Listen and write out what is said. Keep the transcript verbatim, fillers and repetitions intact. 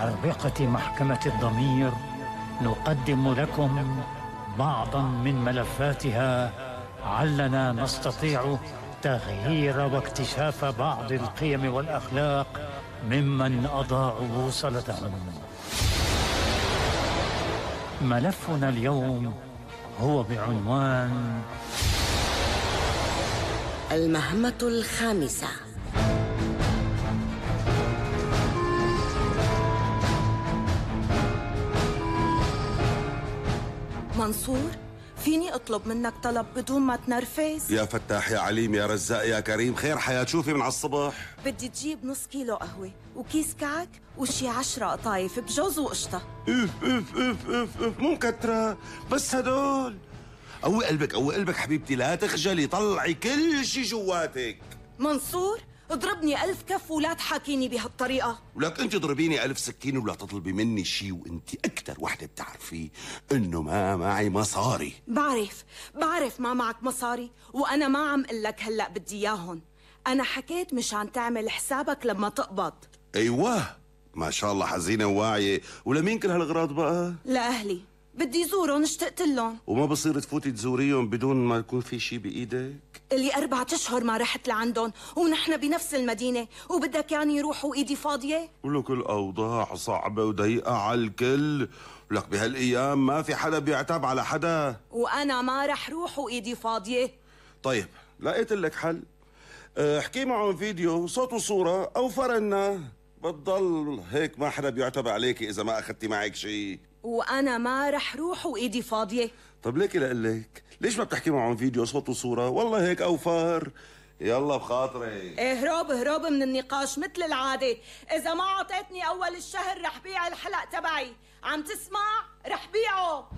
أربقة محكمة الضمير نقدم لكم بعضا من ملفاتها علنا نستطيع تغيير واكتشاف بعض القيم والأخلاق ممن أضاعوا بوصلتهم. ملفنا اليوم هو بعنوان المهمة الخامسة. منصور، فيني اطلب منك طلب بدون ما تنرفز؟ يا فتاح يا عليم يا رزاق يا كريم، خير حياة شوفي من على الصبح. بدي تجيب نص كيلو قهوة وكيس كعك وشي عشرة قطايف بجوز وقشطة. اف اف اف اف اف مو مكترة بس هدول. قوي قلبك قوي قلبك حبيبتي، لا تخجلي، طلعي كل شي جواتك. منصور، اضربني ألف كف ولا تحاكيني بهالطريقة. ولك انت ضربيني ألف سكين ولا تطلبي مني شي، وانت أكتر وحدة بتعرفي انه ما معي مصاري. بعرف بعرف ما معك مصاري، وأنا ما عم قلك هلأ بدي إياهن. أنا حكيت مشان تعمل حسابك لما تقبض. أيوة ما شاء الله حزينة وواعية. ولمين كل هالأغراض بقى؟ لأهلي، بدي زورهم اشتقت لهم. وما بصير تفوتي تزوريهم بدون ما يكون في شي بإيدك؟ اللي أربعة أشهر ما رحت لعندهم ونحن بنفس المدينة، وبدك يعني يروحوا إيدي فاضية؟ ولك الأوضاع صعبة وضيقة على الكل، ولك بهالأيام ما في حدا بيعتب على حدا، وأنا ما رح روح وإيدي فاضية. طيب لقيت لك حل، احكي معهم فيديو صوت وصورة أو فرنا، بتضل هيك ما حدا بيعتب عليكي إذا ما أخذتي معك شي. وأنا ما رح روح وإيدي فاضية. طب ليكي لقلك ليش ما بتحكي معهم فيديو صوت وصورة؟ والله هيك أوفر. يلا بخاطري. اهرب اهرب من النقاش مثل العادة. إذا ما عطيتني أول الشهر رح بيع الحلق تبعي، عم تسمع؟ رح بيعه.